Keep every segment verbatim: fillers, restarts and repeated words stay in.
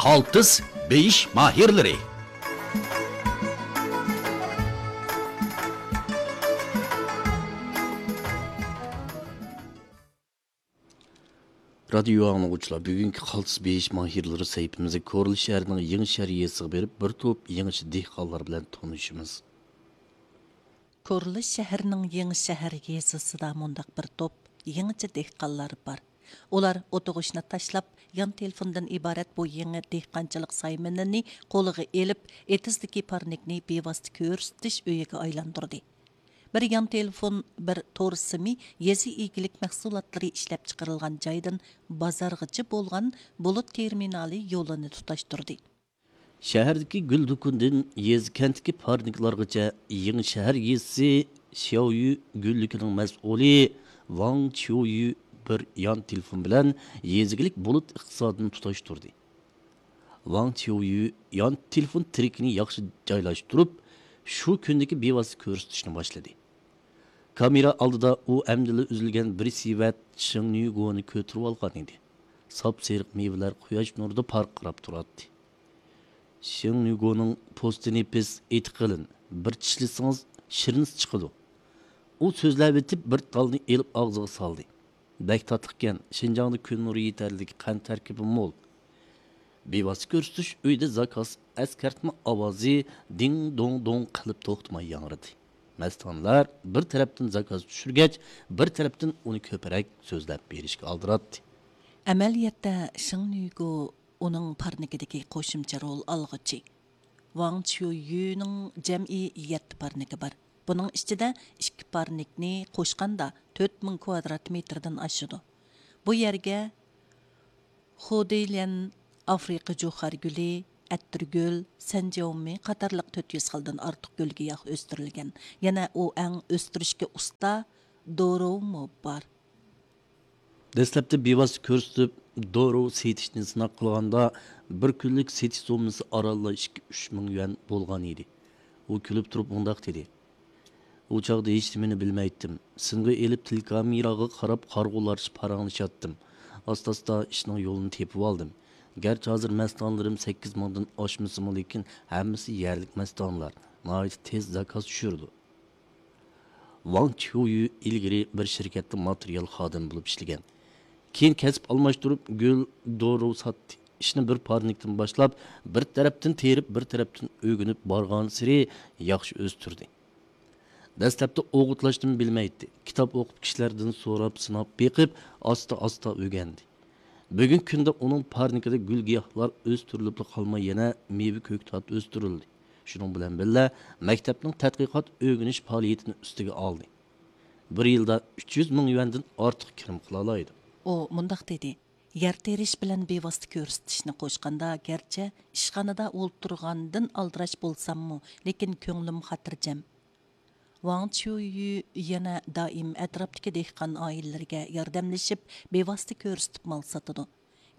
قالتىس بېيىش ماھىرلىرى. رادىيو ئاڭلىغۇچىلار، بۈگۈنكى قالتىس بېيىش ماھىرلىرى سەھىپىمىزدە كورلا شەھىرىنىڭ يېڭى شەھەر يېزىسىغا بېرىپ، بىر توپ يېڭىچە دېھقانلار بىلەن تونۇشىمىز. كورلا شەھىرىنىڭ يېڭى شەھەر يېزىسىدا مۇنداق بىر توپ يېڭىچە دېھقانلار بار. ئۇلار ئوتۇغۇچنى تاشلاپ، يان تېلېفوندىن ئىبارەت بۇ يېڭى دېھقانچىلىق سايمىنىنى قولىغا ئېلىپ، ئېتىزدىكى پارنىكنى بىۋاسىتە كۆرسىتىش ئۆيىگە ئايلاندۇردى. بىر يان تېلېفون، بىر تور سىمى يېزا ئىگىلىك مەھسۇلاتلىرى ئىشلەپچىقىرىلغان جايدىن بازارغىچە بولغان بۇلۇت تېرمىنالى يولىنى تۇتاشتۇردى. شەھەردىكى گۈل دۇكىنىدىن يېزا، كەنتتىكى پارنىكلارغىچە يېڭى شەھەر يېزىسى شياۋيۈ گۈللۈكىنىڭ مەسئۇلى ۋاڭ چيۇيۈ بىر يان تېلېفون بىلەن يېزا ئىگىلىك بۇلۇت ئىقتىسادىنى تۇتاشتۇردى. ۋاڭ چيۇيۈ يان تېلېفون تىرىكىنى ياخشى جايلاشتۇرۇپ، شۇ كۈندىكى بىۋاسىتە كۆرسىتىشنى باشلىدى. كامېرا ئالدىدا ئۇ ئەمدىلا ئۈزۈلگەن بىر سېۋەت شېڭنۈگونى كۆتۈرۈۋالغان ئىدى. ساپسېرىق مېۋىلەر قۇياش نۇرىدا پارقىراپ تۇراتتى. شېڭنۈگونىڭ پوستى نېپىز، ئېتى قېلىن، بىر چىشلىسىڭىز شىرنىسى چىقىدۇ. ئۇ سۆزلەۋېتىپ بىر تالنى ئېلىپ ئاغزىغا سالدى. بەك تاتلىقكەن، شىنجاڭدا كۈن نۇرى يېتەرلىك، قەنت تەركىبى مول. بىۋاسىتە كۆرسىتىش ئۆيىدە زاكاز ئەسكەرتمە ئاۋازى دىڭ دوڭ دوڭ قىلىپ توختىماي ياڭرىدى. مەستانىلەر بىر تەرەپتىن زاكاز چۈشۈرگەچ، بىر تەرەپتىن ئۇنى كۆپرەك سۆزلەپ بېرىشكە ئالدىراتتى. ئەمەلىيەتتە شېڭنۈگو ئۇنىڭ پارنىكىدىكى قوشۇمچە رول ئالغۇچى. ۋاڭ چيۇيۈنىڭ جەمئىي يەتتە پارنىكى بار. بۇنىڭ ئىچىدە ئىككى پارنىكنى قوشقاندا تۆت مىڭ كۋادرات مېتىردىن ئاشىدۇ. بۇ يەرگە خۇدېيليەن، ئافرىقا جۇخار گۈلى، ئەتىرگۈل، سەنجياۋمى قاتارلىق تۆت يۈز خىلدىن ئارتۇق گۈل-گىياھ ئۆستۈرۈلگەن. يەنە ئۇ ئەڭ ئۆستۈرۈشكە ئۇستا دورۇۋمۇ بار. دەسلەپتە بىۋاسىتە كۆرسىتىپ، دورۇ سېتىشنى سىناق قىلغاندا، بىر كۈنلۈك سېتىش سوممىسى ئارانلا ئىككى، ئۈچ مىڭ يۈەن بولغان ئىدى. ئۇ كۈلۈپ تۇرۇپ مۇنداق دېدى: ئۇ چاغدا ھېچنېمىنى بىلمەيتتىم. سىنغا ئېلىپ تېلېكامېراغا قاراپ قارىغۇلارچە پاراڭلىشاتتىم. ئاستا-ئاستا ئىشنىڭ يولىنى تېپىۋالدىم. گەرچە ھازىر مەستانىلىرىم سەككىز مىڭدىن ئاشمىسىمۇ، لېكىن ھەممىسى يەرلىك مەستانىلار. ناھايىتى تېز زاكاز چۈشۈرىدۇ. ۋاڭ چيۇيۈ ئىلگىرى بىر شىركەتتە ماتېرىيال خادىمى بولۇپ ئىشلىگەن. كېيىن كەسىپ ئالماشتۇرۇپ، گۈل، دورا ساتتى. ئىشنى بىر پارنىكتىن باشلاپ، بىر تەرەپتىن تېرىپ، بىر تەرەپتىن ئۆگىنىپ بارغانسېرى ياخشى ئۆستۈردى. دەسلەپتە ئوغۇتلاشنىمۇ بىلمەيتتى. كىتاب ئوقۇپ، كىشىلەردىن سوراپ، سىناپ بېقىپ، ئاستا-ئاستا ئۆگەندى. بۈگۈنكى كۈندە ئۇنىڭ پارنىكىدا گۈل-گىياھلار ئۆستۈرۈلۈپلا قالماي، يەنە مېۋە-كۆكتات ئۆستۈرۈلدى. شۇنىڭ بىلەن بىللە، مەكتەپنىڭ تەتقىقات ئۆگىنىش پائالىيىتىنى ئۈستىگە ئالدى. بىر يىلدا ئۈچ يۈز مىڭ يۈەندىن ئارتۇق كىرىم قىلالايدۇ. ئۇ مۇنداق دېدى: يەر تېرىش بىلەن بىۋاسىتە كۆرسىتىشنى قوشقاندا، گەرچە ئىشخانىدا ئولتۇرغاندىن ئالدىراش بولساممۇ، لېكىن كۆڭلۈم خاتىرجەم. ۋاڭ چيۇيۈ يەنە دائىم ئەتراپتىكى دېھقان ئائىلىلىرىگە ياردەملىشىپ، بىۋاسىتە كۆرسىتىپ مال ساتىدۇ.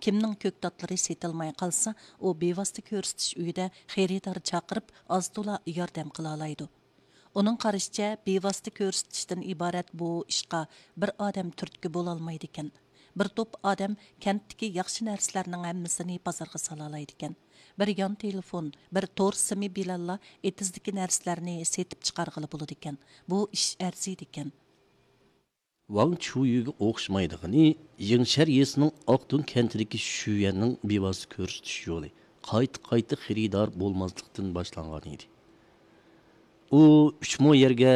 كىمنىڭ كۆكتاتلىرى سېتىلماي قالسا، ئۇ بىۋاسىتە كۆرسىتىش ئۆيىدە خېرىدار چاقىرىپ، ئاز-تولا ياردەم قىلالايدۇ. ئۇنىڭ قارىشىچە، بىۋاسىتە كۆرسىتىشتىن ئىبارەت بۇ ئىشقا بىر ئادەم تۈرتكە بولالمايدىكەن. بىر توپ ئادەم كەنتتىكى ياخشى نەرسىلەرنىڭ ھەممىسىنى بازارغا سالالايدىكەن. بىر يان تېلېفون، بىر تور سىمى بىلەنلا ئېتىزدىكى نەرسىلەرنى سېتىپ چىقارغىلى بولىدىكەن. بۇ ئىش ئەرزىيدىكەن. ۋاڭ چيۇيۈگە ئوخشىمايدىغىنى، يېڭىشەھەر يېزىسىنىڭ ئاقدۇڭ كەنتىدىكى شۈيەننىڭ بىۋاسىتە كۆرسىتىش يولى قايتا-قايتا خېرىدار بولماسلىقتىن باشلانغان ئىدى. ئۇ ئۈچ مو يەرگە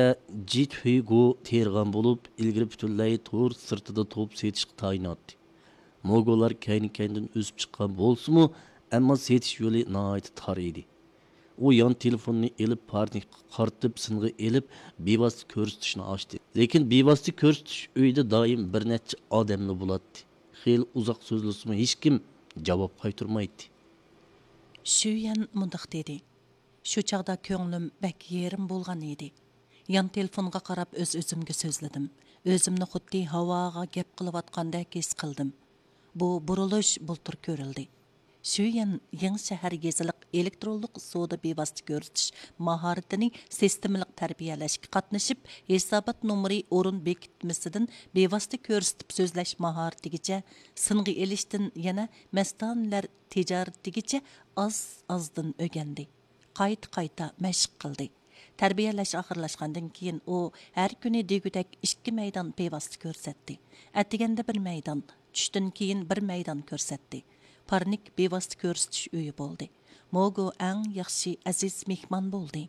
جىتھۈيگو تېرىغان بولۇپ، ئىلگىرى پۈتۈنلەي تور سىرتىدا توپ سېتىشقا تايىناتتى. موگولار كەينى-كەينىدىن ئۆسۈپ چىققان بولسىمۇ، ئەمما سېتىش يولى ناھايىتى تار ئىدى. ئۇ يان تېلېفوننى ئېلىپ، پارنىكقا قارىتىپ، سىنغا ئېلىپ، بىۋاسىتە كۆرسىتىشنى ئاچتى. لېكىن بىۋاسىتە كۆرسىتىش ئۆيىدە دائىم بىر نەچچە ئادەملا بولاتتى. خېلى ئۇزاق سۆزلىسىمۇ، ھېچكىم جاۋاب قايتۇرمايتتى. شۈيەن مۇنداق دېدى: شۇ چاغدا كۆڭلۈم بەك يېرىم بولغان ئىدى. يان تېلېفونغا قاراپ ئۆز-ئۆزۈمگە سۆزلىدىم. ئۆزۈمنى خۇددى ھاۋاغا گەپ قىلىۋاتقاندەك ھېس قىلدىم. بۇ بۇرۇلۇش بۇلتۇر كۆرۈلدى. شۈيەن يېڭى شەھەر يېزىلىق ئېلېكترونلۇق سودا بىۋاسىتە كۆرسىتىش ماھارىتىنى سىستېمىلىق تەربىيەلەشكە قاتنىشىپ، ھېسابات نومۇرى ئورۇن بېكىتمىسىدىن بىۋاسىتە كۆرسىتىپ سۆزلەش ماھارىتىگىچە، سىنغا ئېلىشتىن يەنە مەستانىلەر تىجارىتىگىچە ئاز-ئازدىن ئۆگەندى. قايتا-قايتا مەشىق قىلدى. تەربىيەلەش ئاخىرلاشقاندىن كېيىن، ئۇ ھەر كۈنى دېگۈدەك ئىككى مەيدان بىۋاسىتە كۆرسەتتى. ئەتىگەندە بىر مەيدان، چۈشتىن كېيىن بىر مەيدان كۆرسەتتى. پارنىك بىۋاسىتە كۆرسىتىش ئۆيى بولدى. موگو ئەڭ ياخشى ئەزىز مېھمان بولدى.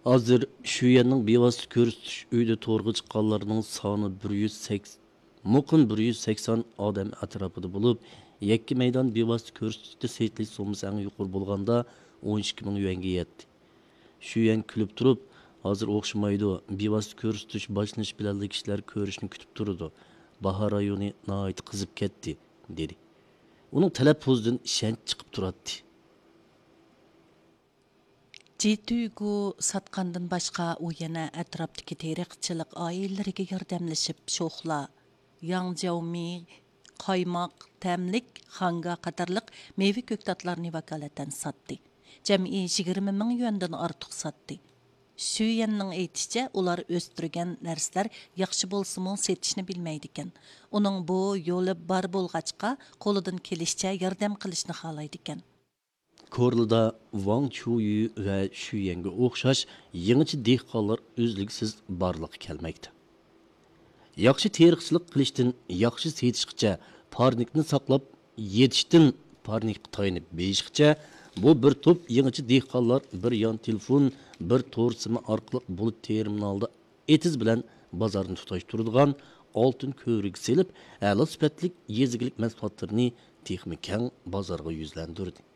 ھازىر شۈيەننىڭ بىۋاسىتە كۆرسىتىش ئۆيىدە تورغا چىققانلارنىڭ سانى بىر يۈز سەكسەن، مۇقىم بىر يۈز سەكسەن ئادەم ئەتراپىدا بولۇپ، يەككە مەيدان بىۋاسىتە كۆرسىتىشتە سېتىلىش سوممىسى ئەڭ يۇقىرى بولغاندا ئون ئىككى مىڭ يۈەنگە يەتتى. شۈيەن كۈلۈپ تۇرۇپ، ھازىر ئوخشىمايدۇ، بىۋاسىتە كۆرسىتىش باشلىنىش بىلەنلا كىشىلەر كۆرۈشنى كۈتۈپ تۇرىدۇ، باھار رايونى ناھايىتى قىزىپ كەتتى، دېدى. ئۇنىڭ تەلەپپۇزىدىن ئىشەنچ چىقىپ تۇراتتى. جىتۈگۇ ساتقاندىن باشقا، ئۇ يەنە ئەتراپتىكى تېرىقچىلىق ئائىلىلىرىگە ياردەملىشىپ، شوخلا، ياڭجياۋمى، قايماق، تەملىك، خاڭگا قاتارلىق مېۋە كۆكتاتلارنى ۋاكالىتەن ساتتى. جەمئىي يىگىرمە مىڭ يۈەندىن ئارتۇق ساتتى. شۈيەننىڭ ئېيتىشىچە، ئۇلار ئۆستۈرگەن نەرسىلەر ياخشى بولسىمۇ، سېتىشنى بىلمەيدىكەن. ئۇنىڭ بۇ يولى بار بولغاچقا، قولىدىن كېلىشىچە ياردەم قىلىشنى خالايدىكەن. كورلىدا ۋاڭ چيۇيۈ ۋە شۈيەنگە ئوخشاش يېڭىچە دېھقانلار ئۈزلۈكسىز بارلىققا كەلمەكتە. ياخشى تېرىقچىلىق قىلىشتىن ياخشى سېتىشقىچە، پارنىكنى ساقلاپ يېتىشتىن پارنىكقا تايىنىپ بېيىشقىچە، بۇ بىر توپ يېڭىچە دېھقانلار بىر يان تېلېفون، بىر تور سىمى ئارقىلىق بۇلۇت تېرمىنالدا ئېتىز بىلەن بازارنى تۇتاشتۇرىدىغان ئالتۇن كۆۋرۈك سېلىپ، ئەلا سۈپەتلىك يېزا ئىگىلىك مەھسۇلاتلىرىنى تېخىمۇ كەڭ بازارغا يۈزلەندۈردى.